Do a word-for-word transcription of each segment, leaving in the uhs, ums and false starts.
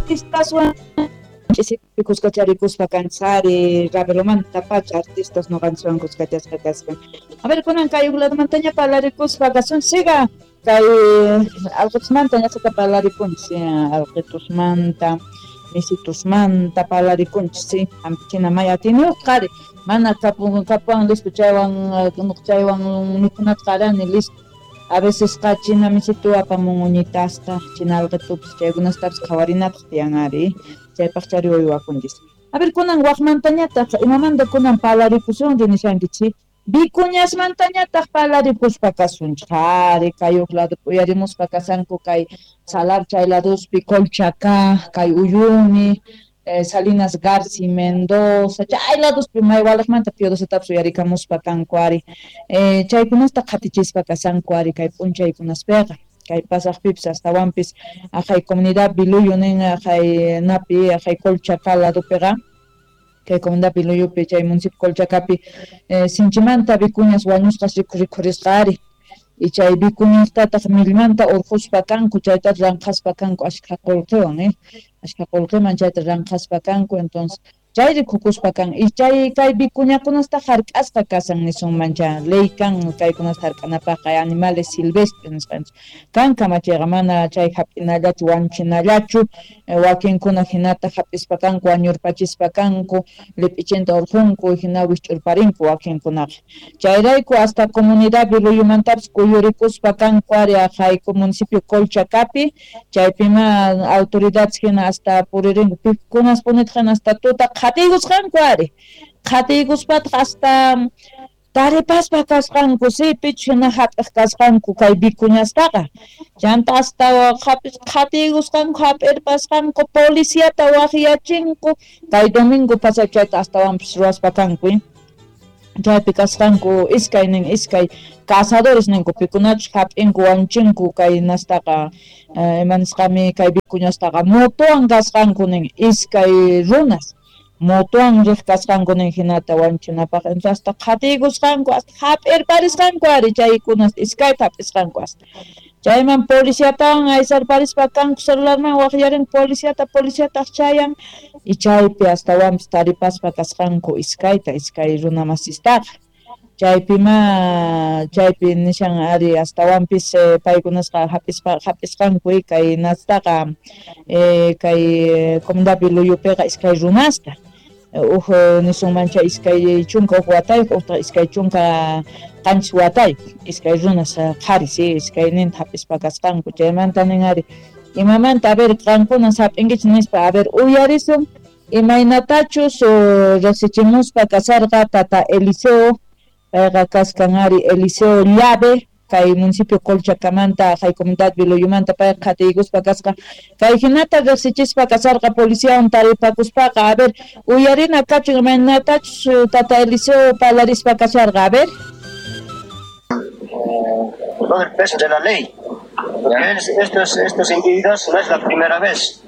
Artistaswan ch'isipi kuskacharikuspa kanchari Ravelomanta pacha artistas noqanchikwan kuskachasqa kasqa. A ver, kunan kay uj ladomantaña parlarikuspa kasunchikqa kay alqitusmanta ñasata parlarikunchik, alqitusmanta, misitusmanta parlarikunchik, sí, hampichina may atiyniyuq qhari, mana kapun kapuwan listo chaywan chaywan mikhunata qarani listo. A veces qa china misitu apamun uñitasta, china alqitupis chaykunastapis qhawarinapaq tiyan ari, chaypaq chari uywakunchis. A ver, kunan waqmantañataq imamanta kunan parlarikusunri nishankichik? Vicuñasmantañataq parlarikuspa kasunchik, ari kay uj lado uyarimuspa kasanku kay Salar chay ladospi Colchacá, kay Uyuni, eh, Salinas Garci, Mendoza, chay ladospi may walaqmanta Piodosatapis uyarikamuspa kanku ari. Eh, chaykunasta qhatichispa kasanku ari kay p'unchaykunaspiqa. Kay pasaqpipis astawanpis aqhay comunidad Biluyo nin aqhay napi aqhay Colchacá ladopiqa kay comunidad Biluyupi chay municipio Colchacapi eh, sinchimanta vicuñas wañusqas rikhurisqa ari. Y chay vicuñastataq millmanta urquspa kanku, chayta ranqhaspa kanku ashkha qullqiwan, eh, ashkha qullqiman chayta ranqhaspa kanku, entonces chay rikukuspa kan y chay kay vicuñakunasta hark'asqa kasan nisunmancha ley kan kaykunasta hark'anapaqqa animales silvestres nisqanchik kan kamachiyqa mana chay hap'inallachu wañuchinallachu wakinkuna hinata hap'ispa kanku wañurpachispa kanku lip'ichinta urqunku hina wikch'urparinku wakinkunaqa chayrayku hasta comunidad Biluyumantapis kuyurikuspa kanku ari aqhayku municipio Colchacapi chaypima autoridades hina hasta puririnku pikunas punitaq hina hasta tuta qhatiykusqanku ari qhatiykuspataq hasta taripaspa kasqanku si pichus hina hap'iq kasqanku kay vicuñastaqa chanta hasta qhatiykusqanku hap'irpasqanku policiata waqyachinku kay domingo pasay chayta astawanpis ruwaspa kanku chaypi kasqanku iskay nin iskay cazadores ninku pikunachus hap'inku wañuchinku kay nastaqa ima nisqami kay vicuñastaqa motowan kasqanku nin iskay runas motowan riq kasqanku nin hinata wañuchinapaq entonces hasta qhatiykusqanku hasta hap'irparisqanku ari chaykunas iskayta hap'isqanku hasta chayman policiatawan aysarparispa kanku celularman waqyarin policiata policiataq chayan y chaypi astawanpis taripaspa kasqanku iskayta iskay runa masistaqa chaypima chaypi nishan ari astawanpis eh, paykunasqa hap'ispa hap'isqanku kay nastaqa eh, kay comunidad Biluyupiqa iskay runasta uj nisunmancha iskay chunka uj watayuq utaq iskay chunka qanchis watayuq iskay runas qharis iskayninta hap'ispa kasqanku chaymanta nin ari imamanta a ver qankunas hap'inkichik nispa a ver uyarisun imaynatachus riqsichimuspa kasarqa tata Eliseo payqa kaskan ari Eliseo Llave kay municipio Colchacamanta kay comunidad Biluyumanta payqa qhatiykuspa kasqa kay hinata riqsichispa kasarqa policiawan taripakuspaqa a ver uyarina kachun imaynatachus tata Eliseo parlarispa kasharqa a ver. Todo el peso de la ley, porque estos, estos individuos no es la primera vez.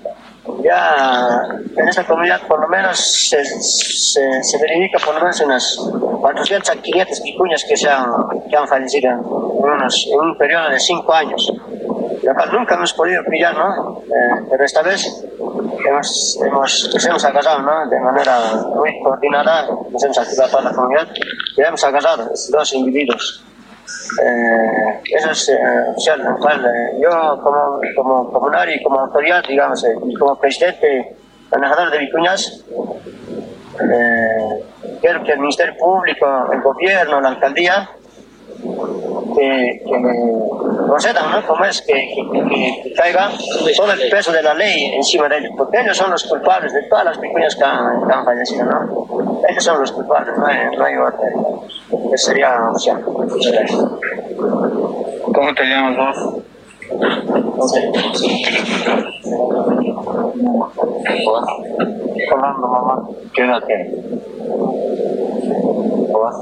Ya en esta comunidad por lo menos se, se, se verifica por lo menos unas cuatrocientas a quinientas vicuñas que, se han, que han fallecido en, unos, en un periodo de cinco años, lo cual nunca hemos podido pillar, ¿no? Eh, pero esta vez hemos, hemos, nos hemos agarrado, ¿no? De manera muy coordinada, nos hemos activado toda la comunidad y hemos agarrado dos individuos. Eh, eso es eh, oficial, cual, eh, yo como, como comunario y como autoridad, digamos, eh, y como presidente manejador de vicuñas, eh, quiero que el Ministerio Público, el gobierno, la alcaldía, que, que procedan, ¿no? Como es que, que, que, que caiga todo el peso de la ley encima de ellos, porque ellos son los culpables de todas las vicuñas que han, que han fallecido, ¿no? Ellos son los culpables, no hay, no hay otra. Esa sería la opción. ¿Cómo te llamas vos? Rolando, mamá. ¿Qué edad tienes? ¿Vos?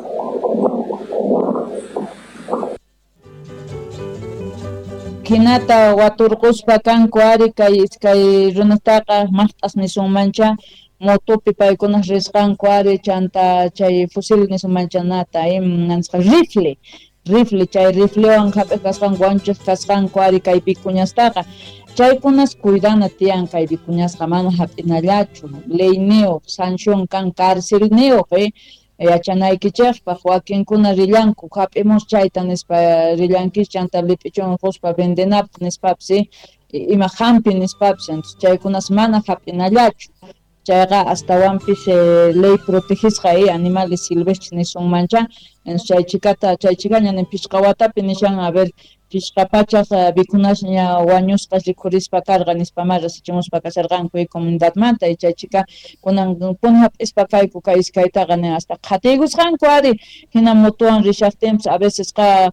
Hinata waturquspa kanku ari kay iskay runastaqa maqt'as nisunmancha motopi paykunas risqanku ari chanta chay fusil nisunmanchanata nisqa rifle rifle chay riflewan hap'iq kasqanku wanchiq kasqanku ari kay vicuñastaqa Chaykunas cuidana tiyan kay vicuñasqa mana hap'inallachu leyniyuq sanción kan carcelniyuq eh yachanaykichikpaq wakinkuna rillanku hap'imus chayta nispa rillankichik chanta lip'ichun quspa vendenapaq nispapis ima hampi nispapis chaykunas mana hap'inallachu chayqa astawanpis eh, ley protegisqa eh, animales silvestres nisunmancha chay chikata chay chikaña nin pishqa watapi nishan a ver pishqa pachaq vikunasña wañusqas rikhurispa karqa nispamá rasichimuspa kasharqanku y comunidadmanta y chay chika kunan puni hap'ispa kayku kay iskaytaqa nin hasta qhatiykusqanku ari hina motowan rishaqtinpis a veces qa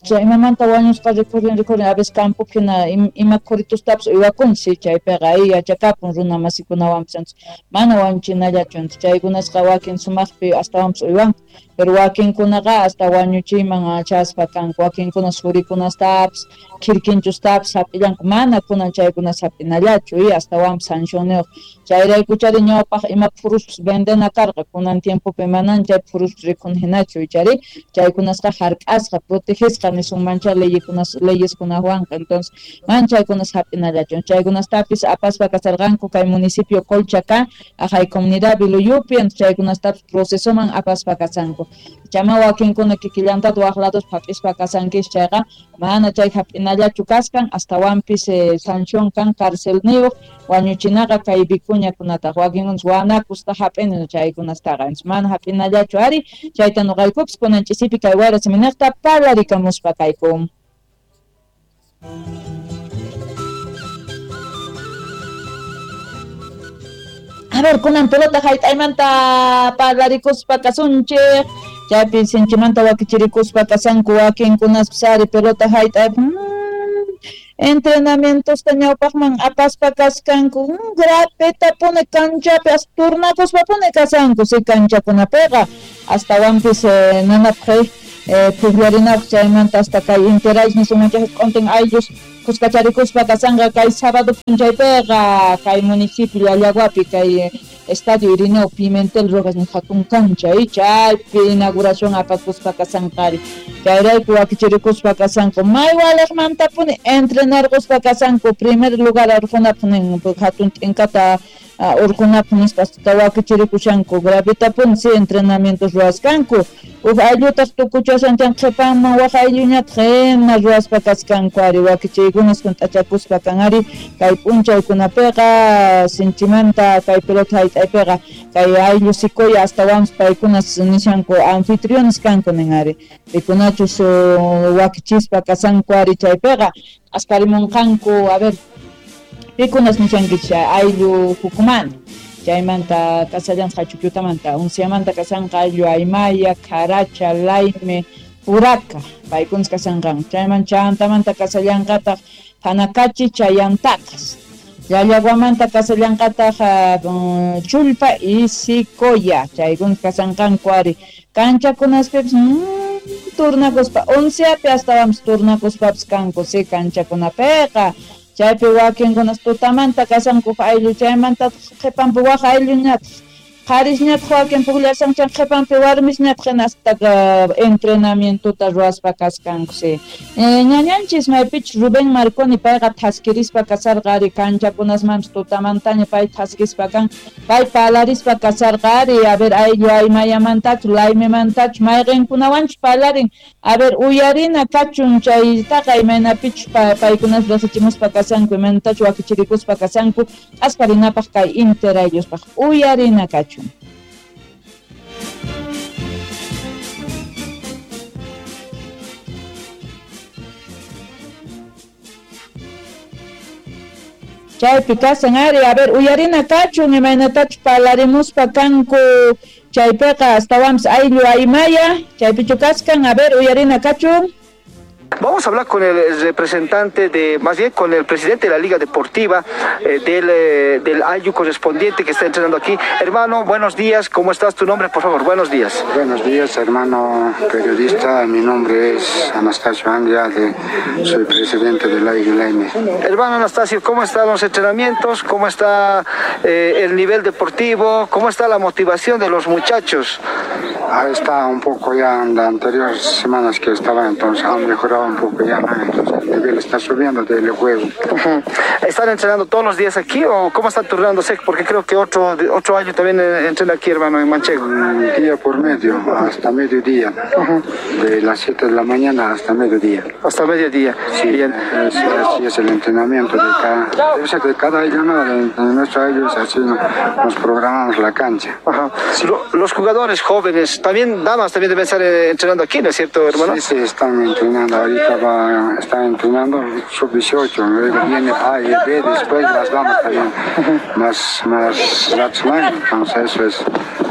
chay imamanta wañusqa rikhurin rikhurin a veces campopi hina ima qhuritustapis uywakunchis chaypiqa ay yachakapun runa masikunawanpis mana wañuchinallachu chaykunasqa wakin sumaqpi astawanpis uywanku pero wakinkunaqa hasta wañuchiyman chaspa kanku wakinkuna surikunastapis khirkinchustapis hap'illanku mana kunan chaykunas hap'inallachu y astawanpis sancionniyuq chayraykuchari ñawpaq ima phuruspis vendena karqa kunan tiempopi manan chay phuruspis rikhun hinachu ichari chaykunasqa hark'asqa protegisqa nisunmancha leyekunas leyeskunawanqa entonces man chaykunas hap'inallachu chaykunastapis apaspa kasarqanku kay municipio Colchaca ajay comunidad Viluyupi chaykunastapis procesoman apaspa kasanku chama wakinkuna kikillantata waq lados hap'ispa kasankis chayqa mana chay hap'inallachu kaskan astawanpis eh, sanción kan carcelniyuq wañuchinaqa kay vicuñakunataq wakinkunas wanakusta hap'ini chaykunastaqa mana hap'inallachu ari chayta nuqaykupis kunan ch'isipi kay wayra siminiqta parlarikamuspa kayku. A ver, kunan pelota hayt'aymanta parlarikuspa kasunchik chaypi sinchimanta wakichirikuspa kasanku wakinkunaspis ari pelota hayt'ay mm, entrenamientosta ñawpaqman apaspa kaskanku mm, grapetapuni kanchapi hasta turnakuspapuni kasanku si kanchakunapiqa astawanpis eh, nanapaq eh, pukllarinapaq chaymanta hasta kay interays nisunmanchik q'untin ayllus kuskacharikuspa kasanqa kay sábado p'unchaypiqa kay municipio Llallaguapi kay Estadio Irineo Pimentel Rojas ni hatun kancha y chaypi inauguración apakuspa kasanqari chayrayku wakichirikuspa kasanku may waliqmantapuni entrenarquspa kasanku primer lugar urqunapaq nin hatun t'inkata urqunapaq nispa hasta wakichirikushanku gravitapuni si entrenamientos ruwaskanku uj ayllutaq tukuchashan chan qhipanman waq aylluñataq hina ruwaspa kaskanku ari wakichiykunas hunt'achakuspa kan ari kay p'unchaykunapiqa sinchimanta kay pelota hayt'aypiqa kay ayllu Sicoya astawanpis paykunas nishanku anfitriones kanku nin ari pikunachus wakichispa kasanku ari chaypiqa askarimunqanku a ver pikunas nishankichik ayllu Jucumán chaymanta kasallanqa Chukyutamanta Unciamanta kasanqa ayllu Aymaya, Caracha, Laime, Puraca paykunas kasanqanku chayman chantamanta kasallanqataq Panacachi, Chayantacas Llallaguamanta kasallanqataq uh, Chulpa y Sicoya chaykunas kasanqanku ari kanchakunaspipis mm, turnakuspa Unciapi astawanpis turnakuspapis kanku si kanchakunapiqa chaypi wakinkunas tutamanta kasanku ayllu chaymanta qhipanpi waq aylluñataq qharisñataq wakin pukllashan chay qhipanpi warmisñataq hina hasta entrenamientota ruwaspa kaskanku si ñañanchis maypichus Rubén Marconi payqa thaskirispa kasarqa ari kanchakunasmanpis tutamantaña pay thaskispa kan pay parlarispa kasarqa ari a ver ayllu aymayamantachu laymimantachu mayqinkunawanchus parlarin a ver uyarina kachun chaytaqa imaynapichus paykunas rasichimuspa kasanku imaynatachu wakichirikuspa kasanku askarinapaq kay interaylluspaq uyarina kachun. Chaypi kasan ari, a ver, uyarina kachun imaynatachu parlarimuspa kanku chaypiqa astawanpis ayllu aymaya chaypichu kaskan, a ver, uyarina kachun. Vamos a hablar con el representante de, más bien con el presidente de la Liga Deportiva eh, del, eh, del Ayllu correspondiente que está entrenando aquí. Hermano, buenos días, ¿cómo estás? Tu nombre, por favor, buenos días. Buenos días, hermano periodista, mi nombre es Anastasio Andrade, soy presidente del Ayllu Laime. Hermano Anastasio, ¿cómo están los entrenamientos? ¿Cómo está eh, el nivel deportivo? ¿Cómo está la motivación de los muchachos? Ah, está un poco ya en las anteriores semanas que estaba, entonces han mejorado un poco ya, ¿no? Entonces el nivel está subiendo del juego. Uh-huh. ¿Están entrenando todos los días aquí o cómo están turnándose? Porque creo que otro, otro año también entrena aquí, hermano, en Manchego. Un día por medio, hasta mediodía. Uh-huh. De las siete de la mañana hasta mediodía. Hasta mediodía. Sí, bien. Es, así es el entrenamiento de cada, debe ser de cada año, ¿no? De, de nuestro año es así, ¿no? Nos programamos la cancha. Ajá. Sí. Los jugadores jóvenes, también damas, también deben estar entrenando aquí, ¿no es cierto, hermano? Sí, sí, están entrenando. Ahorita va, están entrenando sub dieciocho, luego viene A y B, después las damas también. Más, más Ratzman, entonces eso es,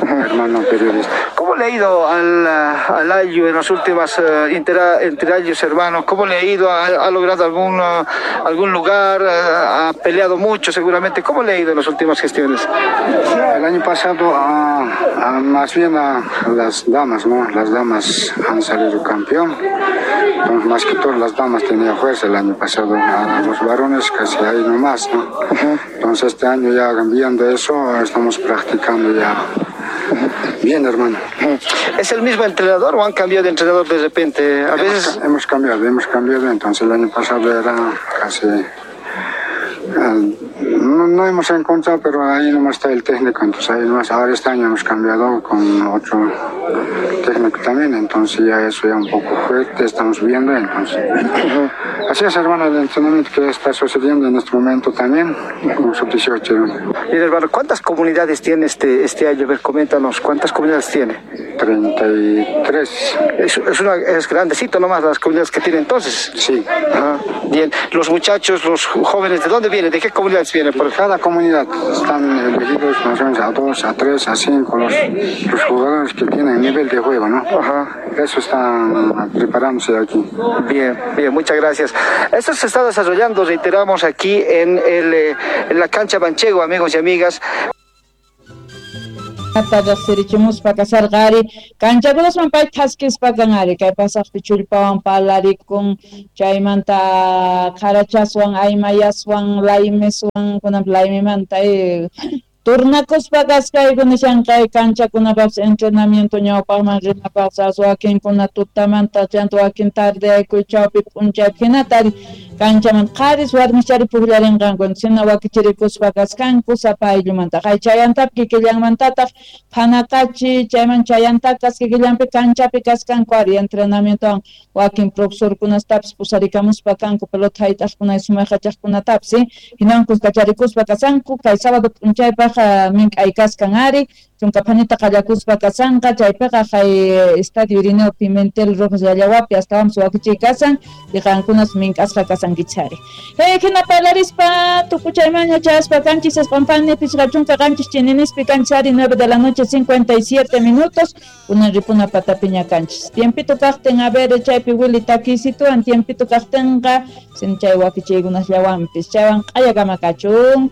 hermano periodista. ¿Cómo le ha ido al, al Ayllu en las últimas uh, intera, interayos, hermano? ¿Cómo le ha ido? ¿Ha, ha logrado algún, uh, algún lugar? ¿Ha peleado mucho seguramente? ¿Cómo le ha ido en las últimas gestiones? El año pasado, a, a, más bien a las damas, ¿no? Las damas han salido campeón. Entonces, más que todo las damas tenían fuerza el año pasado, a los varones casi ahí nomás, ¿no? Uh-huh. Entonces este año ya viendo eso, estamos practicando ya. Bien, hermano. ¿Es el mismo entrenador o han cambiado de entrenador de repente? A veces... Hemos, hemos cambiado, hemos cambiado. Entonces el año pasado era casi... No, no hemos encontrado, pero ahí nomás está el técnico, entonces ahí nomás, ahora este año hemos cambiado con otro técnico también, entonces ya eso ya un poco fuerte, estamos viendo, entonces. Uh-huh. Así es, hermano, el entrenamiento que está sucediendo en este momento también, con sub dieciocho. Bien, hermano, ¿cuántas comunidades tiene este, este año? A ver, coméntanos, ¿cuántas comunidades tiene? treinta y tres. Es, es, una, es grandecito nomás las comunidades que tiene entonces. Sí. Ajá. Bien, los muchachos, los jóvenes, ¿de dónde vienen? ¿De qué comunidades vienen? Por cada comunidad están elegidos más o menos a dos, a tres, a cinco los, los jugadores que tienen nivel de juego, ¿no? Ajá. Eso están preparándose aquí. Bien, bien, muchas gracias. Esto se está desarrollando, reiteramos, aquí en, el, en la cancha Manchego, amigos y amigas. Riqsirichimuspa kasarqa ari kanchakunasman pay thaskispa kan ari kay pasaqpi chullpawan parlarikun chaymanta qarachaswan aymayaswan laymeswan kunanpi laymimanta turnakuspa kaskayku nishanqay kanchakunapapis entrenamiento ñawpaqman rinapaqpas wakinkuna tutamanta chanta wakin tardeyaykuy chawpi p'unchaypi hinata ari kanchaman qharis warmichari pukllarinqanku hina wakichirikuspa kaskanku sapa ayllumanta qay chayantapi kikillanmantataq phanaqachi chayman chayantakas kikillanpi kanchapi kaskanku ari entrenamientowan wakin profesorkunastapis pusarikamuspa kanku pelota hayt'aqkuna sumaq yachaqkunatapis hinan kuskacharikuspa kasanku kay sábado p'unchaypaq mink'ay kaskan ari chunka phanita qallakuspa kasanqa chaypiqa kay Estadio Irineo Pimentel Rojas Llallawapi astawanpis wakichiy kasan y qankunas mink'asqa kasankichari. Hey, hina parlarispa tukuchaymanña chayaspa kanchis esqunpani pichqa chunka qanchis chininispi kanchis ari nueve de la noche cincuenta y siete minutos kunan ripuna patapiña kanchis. Tiempito kaqtin a ver chaypi Willy takisituan tiempito kaqtinqa sin chay wakichiykunasllawanpis chaywan q'ayakama kachun.